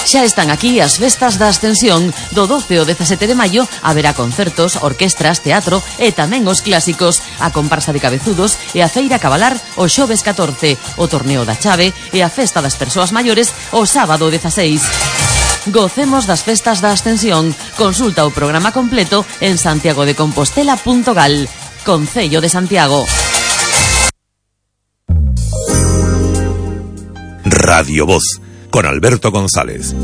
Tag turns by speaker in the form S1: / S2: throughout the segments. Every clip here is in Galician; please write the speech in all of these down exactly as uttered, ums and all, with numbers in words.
S1: Xa están aquí as festas da Ascensión. Do doce ao dezasete de maio haberá concertos, orquestras, teatro e tamén os clásicos, a comparsa de cabezudos e a feira cabalar o xoves catorce, o torneo da chave e a festa das persoas maiores o sábado dezaseis. Gocemos das festas da Ascensión. Consulta o programa completo en santiago de compostela punto gal. Concello de Santiago.
S2: Radio Voz, con Alberto González.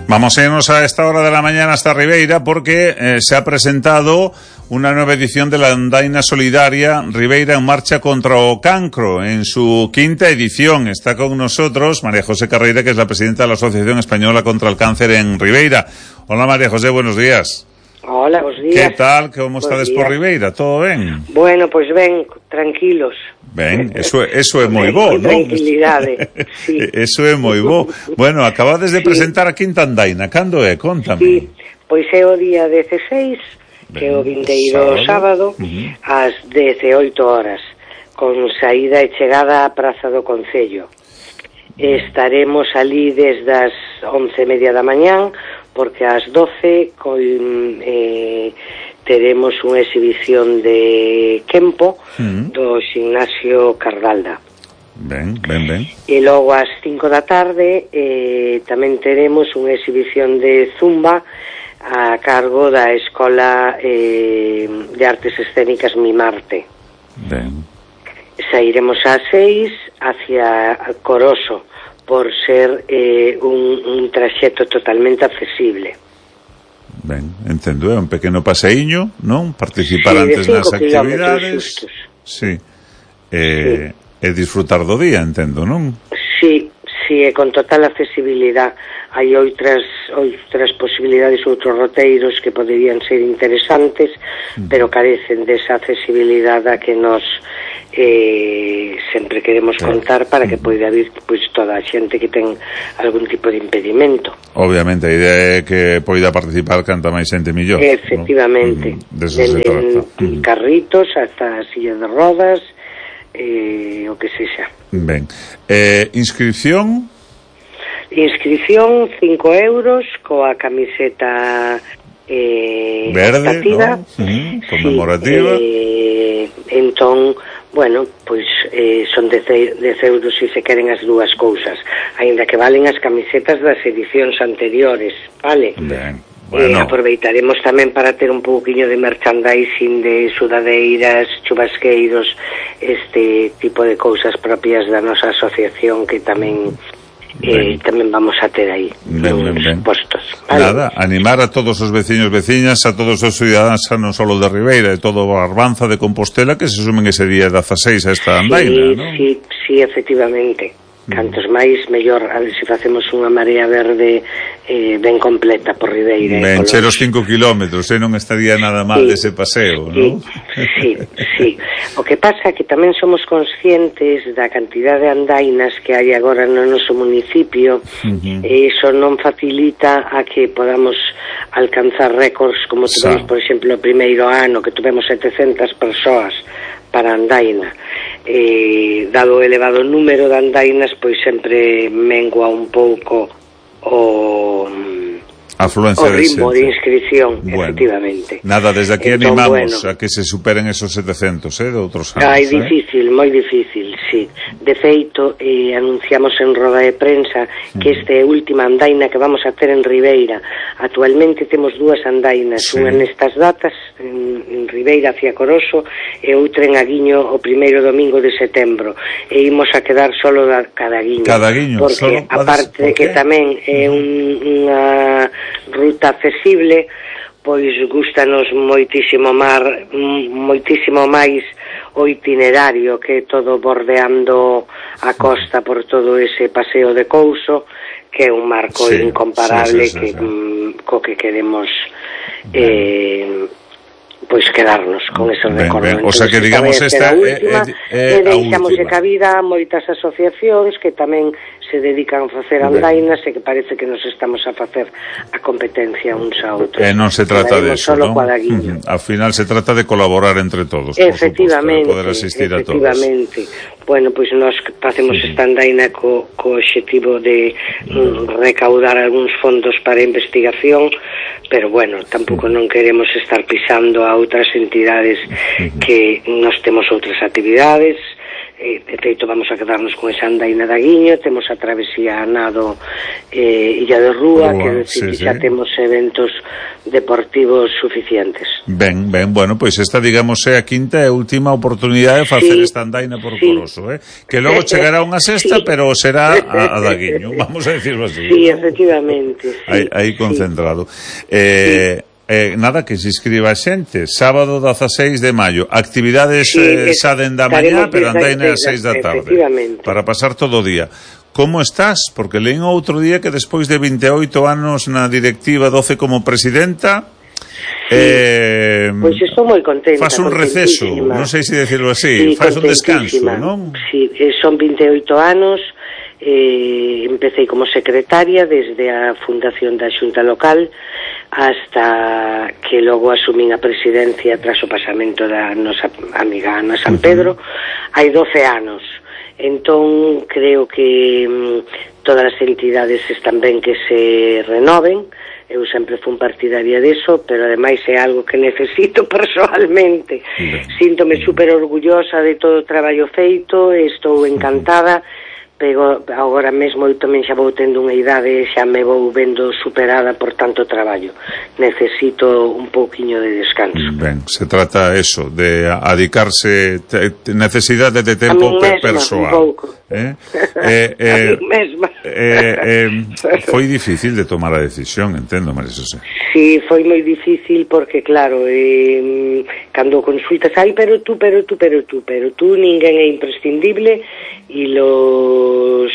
S3: Vamos a irnos a esta hora de la mañana hasta Ribeira porque eh, se ha presentado una nueva edición de la Andaina Solidaria Ribeira en marcha contra o cancro, en su quinta edición. Está con nosotros María José Carreira, que es la presidenta de la Asociación Española contra el Cáncer en Ribeira. Hola María José, buenos días.
S4: Hola, buenos días.
S3: ¿Qué tal? ¿Cómo estades por Ribeira? ¿Todo ben?
S4: Bueno, pois pues ben, tranquilos.
S3: Ben, eso, eso é moi bo, non?
S4: Tranquilidade, sí.
S3: Eso é moi bo. Bueno, acabades de presentar sí. a quinta Andaina. Cando é? Contame.
S4: Sí, pois é o día dezasseis, que é o vindeiro sábado, sábado uh-huh. ás dezaoito horas, con saída e chegada á Praza do Concello. Estaremos ali desde as once e media da mañán, porque ás doce con, eh, teremos unha exhibición de Kempo uh-huh. do Ximnasio Cardalda.
S3: Ben, ben, ben.
S4: E logo ás cinco da tarde eh, tamén teremos unha exhibición de Zumba a cargo da Escola eh, de Artes Escénicas Mimarte.
S3: Ben.
S4: Sairemos ás seis hacia Coroso, por ser eh, un, un traxecto totalmente accesible.
S3: Ben, entendo, é un pequeno paseíño, non? Participar
S4: sí,
S3: antes nas actividades. Sí. Eh, sí. E disfrutar do día, entendo, non?
S4: Sí, sí, e con total accesibilidade. Hai outras outras posibilidades, outros roteiros que poderían ser interesantes, mm. pero carecen desa accesibilidade a que nos eh, sempre queremos contar para que poida vir pois, toda a xente que ten algún tipo de impedimento.
S3: Obviamente, a idea é que poida participar canta máis xente millor.
S4: Efectivamente.
S3: ¿no? Deso se trata.
S4: Mm. Carritos hasta sillas de rodas, eh, o que sexa.
S3: Ben. Eh, inscripción...
S4: Inscripción cinco euros coa camiseta eh,
S3: verde, ¿no? Uh-huh. Conmemorativa.
S4: Sí, eh, entón, bueno, pois eh, son dez euros se se queren as dúas cousas, aínda que valen as camisetas das edicións anteriores, vale?
S3: Ben. Bueno.
S4: Eh, aproveitaremos tamén para ter un pouquiño de merchandising de sudadeiras, chubasqueiros, este tipo de cousas propias da nosa asociación que tamén eh, tamén vamos a ter aí
S3: ben, ben, ben.
S4: postos, vale?
S3: Nada, animar a todos os veciños, veciñas, a todos os ciudadanos, non só de Ribeira, e todo a Arbanza de Compostela, que se sumen ese día dezaseis a esta andaina,
S4: sí,
S3: non?
S4: Sí, sí, efectivamente. Cantos máis, mellor, a ver se facemos unha marea verde eh, ben completa por Ribeira.
S3: Ben, che os cinco kilómetros, eh, non estaría nada mal sí, dese paseo,
S4: sí,
S3: non?
S4: Sí, sí. O que pasa é que tamén somos conscientes da cantidad de andainas que hai agora no noso municipio, uh-huh. e iso non facilita a que podamos alcanzar récords como tuvemos, por exemplo, o primeiro ano que tuvemos setecentas persoas para andaina. Eh, dado o elevado número de andainas, pois sempre mengua un pouco o
S3: afluencia
S4: o ritmo de,
S3: de
S4: inscripción,
S3: bueno,
S4: efectivamente.
S3: Nada, desde aquí entón, animamos bueno, a que se superen esos setecentos, eh, de outros anos.
S4: É difícil,
S3: eh?
S4: moi difícil, sí. De feito, eh, anunciamos en roda de prensa que esta é a última andaina que vamos a ter en Ribeira. Actualmente temos dúas andainas, sí. unha nestas datas, en, en Ribeira hacia Coroso, e outra en Aguiño o primeiro domingo de setembro. E imos a quedar solo da Cadaguiño.
S3: Cadaguiño,
S4: porque
S3: solo
S4: aparte de que tamén é un, unha ruta accesible, pois gustanos moitísimo mar, moitísimo máis o itinerario, que é todo bordeando a costa por todo ese paseo de Couso, que é un marco sí, incomparable sí, sí, sí, que, sí. Mm, co que queremos eh, pois quedarnos con ese recordo.
S3: O sea que digamos esta
S4: é última,
S3: é, é, é
S4: e deixamos de cabida moitas asociacións que tamén se dedican a facer andainas e que parece que nos estamos a facer a competencia uns a outros.
S3: E non se trata de eso, non?
S4: Uh-huh.
S3: Al final se trata de colaborar entre todos,
S4: efectivamente,
S3: por suposto, poder asistir a todos.
S4: Efectivamente. Bueno, pois nós facemos sí. esta andaina co, co obxectivo de mm, recaudar algúns fondos para investigación, pero bueno, tampouco non queremos estar pisando a outras entidades que nos temos outras actividades. Eh, de feito vamos a quedarnos con esa andaina da Guiño, temos a travesía a nado eh, Illa de Rúa, Rúa que decir, sí, xa sí. temos eventos deportivos suficientes.
S3: Ben, ben, bueno, pois pues esta digamos é a quinta e última oportunidade de facer sí, esta andaina por sí. Coroso, eh? Que logo chegará unha sexta, sí. pero será a, a da Guiño, vamos a decirlo así.
S4: Sí,
S3: ¿no?
S4: efectivamente. Sí,
S3: aí, aí concentrado. Sí. Eh, sí. Eh, nada, que se inscriba a xente. Sábado dezaseis de maio. Actividades sí, eh, xa denda mañá, pero andaina a seis da tarde. Para pasar todo o día. Como estás? Porque leín outro día que despois de veintioito anos na directiva, doce como presidenta,
S4: sí.
S3: eh,
S4: pois pues estou moi contenta.
S3: Faz un receso, non sei se decirlo así, sí, faz un descanso, non?
S4: Sí, son veintioito anos. Eh, empecé como secretaria desde a fundación da Xunta Local hasta que logo asumín a presidencia tras o pasamento da nosa amiga Ana San Pedro. Hai doce anos. Entón creo que mm, todas as entidades están ben que se renoven. Eu sempre fui partidaria deso, pero ademais é algo que necesito personalmente. Síntome super orgullosa de todo o traballo feito, estou encantada. Pero agora mesmo eu tamén xa vou tendo unha idade, xa me vou vendo superada por tanto traballo. Necesito un pouquiño de descanso.
S3: Ben, se trata eso, de adicarse te, te, necesidade de tempo
S4: mesma,
S3: persoal.
S4: Un pouco.
S3: Eh? Eh, eh,
S4: a mí mesma.
S3: Eh, eh, foi difícil de tomar a decisión, entendo, María Xosé.
S4: Sí, foi moi difícil porque, claro, eh, cando consultas, ai, pero tú, pero tú, pero tú, pero tú, ninguén é imprescindible, e los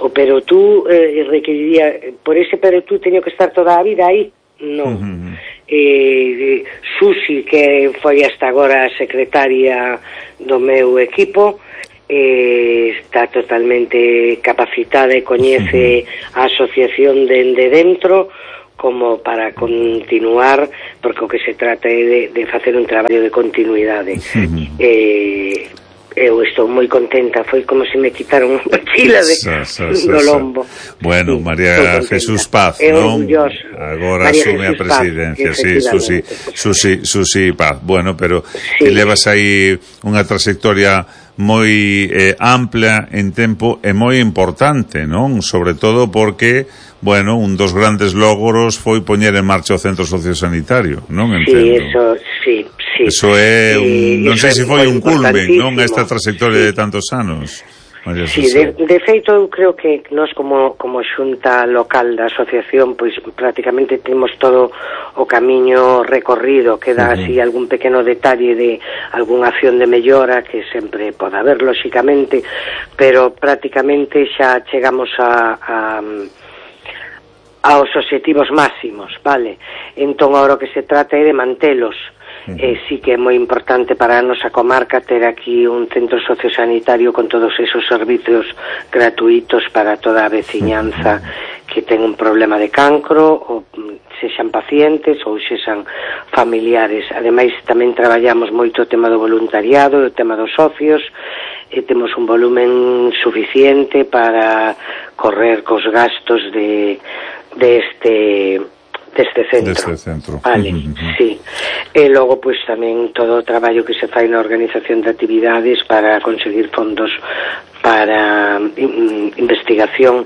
S4: o pero tú eh, requeriría, por ese pero tú teño que estar toda a vida aí, non. Uh-huh. eh, Susi, que foi hasta agora a secretaria do meu equipo, eh, está totalmente capacitada e coñece uh-huh. a asociación dende dentro como para continuar, porque o que se trata é de, de facer un traballo de continuidade. Uh-huh. eh, eu estou moi contenta, foi como se me quitaron unha mochila de, sa, sa, sa, do lombo.
S3: Bueno, sí, María Jesús Paz, non? Agora María asume Jesús a presidencia, Paz, sí, Susi, Susi, Susi Paz. Bueno, pero sí. Te levas aí unha trayectoria moi eh, ampla en tempo e moi importante, non? Sobre todo porque, bueno, un dos grandes logros foi poñer en marcha o centro sociosanitario, non? Entendo.
S4: Sí, eso, sí, sí.
S3: Eso é un, non sei se foi un culmen, non? Esta trayectoria sí. de tantos anos.
S4: Sí, de, de feito eu creo que nós como, como xunta local da asociación pois prácticamente temos todo o camiño recorrido, queda uh-huh. así algún pequeno detalle de algunha acción de mellora que sempre pode haber lóxicamente, pero prácticamente xa chegamos a, a aos obxectivos máximos, vale? Entón agora o que se trata é de mantelos. Eh, sí que é moi importante para a nosa comarca ter aquí un centro sociosanitario con todos esos servicios gratuitos para toda a veciñanza que ten un problema de cancro, ou sexan pacientes ou sexan familiares. Ademais tamén traballamos moito o tema do voluntariado, o tema dos socios, e temos un volumen suficiente para correr cos gastos de, de este... deste centro.
S3: Deste centro.
S4: Vale, uh-huh. sí. E logo, pois, tamén todo o traballo que se fai na organización de actividades para conseguir fondos para in, investigación,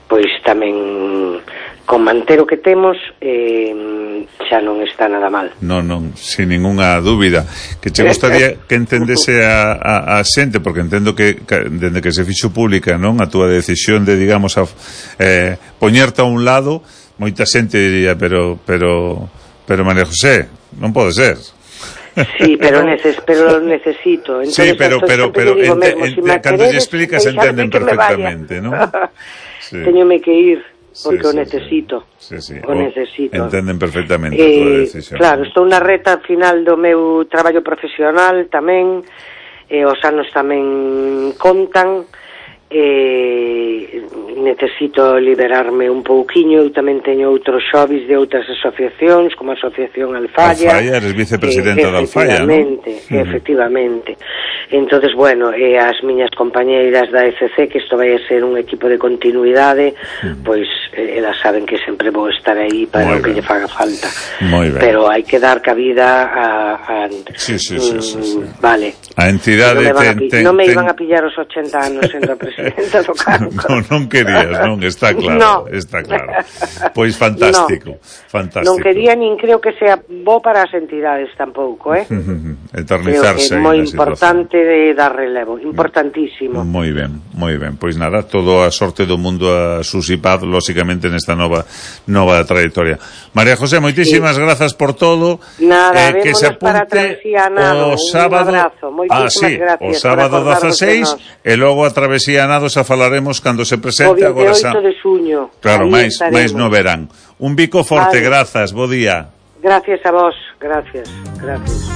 S4: pois tamén con manter o que temos eh, xa non está nada mal.
S3: Non, non, sin ninguna dúbida. Que che gustaría que entendese a, a, a xente, porque entendo que, que dende que se fixo pública, non, a túa decisión de, digamos, a, eh, poñerte a un lado. Moita xente diría, pero pero pero María José, non pode ser.
S4: Sí, pero neces, pero necesito.
S3: Entonces, sí, pero pero pero ente, mesmo, ente, si cando lle explicas entenden perfectamente, ¿no?
S4: Sí. Teñome que ir porque sí, sí, o necesito.
S3: Sí, sí.
S4: O, o necesito.
S3: Entenden perfectamente
S4: eh,
S3: a túa decisión.
S4: Claro, estou na reta final do meu traballo profesional tamén, e os anos tamén contan. eh, necesito liberarme un pouquiño. Eu tamén teño outros xobis de outras asociacións, como a Asociación Alfaya.
S3: Alfaya, eres vicepresidenta
S4: eh,
S3: da Alfaya, non?
S4: Efectivamente, uh-huh. efectivamente. Entonces, bueno, e as miñas compañeiras da E C C, que isto vai a ser un equipo de continuidade, uh-huh. pois eh, elas saben que sempre vou estar aí para o que lle faga falta.
S3: Moi ben.
S4: Pero hai que dar cabida a... a
S3: sí, sí, sí, sí, sí.
S4: Vale.
S3: A entidade...
S4: Non me, ten,
S3: ten,
S4: non me
S3: ten...
S4: iban a pillar os ochenta anos sendo a presidenta do Cancro.
S3: non, non querías, non, está claro, no. está claro. Pois fantástico, no. fantástico.
S4: Non quería, nin creo que sea bo para as entidades tampouco, eh?
S3: Eternizarse.
S4: Creo que é moi importante de dar relevo, importantísimo.
S3: Moi ben, moi ben. Pois nada, todo a sorte do mundo a Susi Paz, lógicamente nesta nova nova trayectoria. María José, moitísimas sí. grazas por todo.
S4: Nada,
S3: eh, que se apunte
S4: para Travesía Nado.
S3: O sábado,
S4: un abrazo,
S3: ah, sí, o sábado dezaseis e logo a Travesía Nado xa falaremos cando se presente
S4: o
S3: agora
S4: vindeoito de xuño.
S3: Claro, máis máis no verán. Un bico forte, vale. Grazas, bo día.
S4: Gracias a vos, gracias, gracias.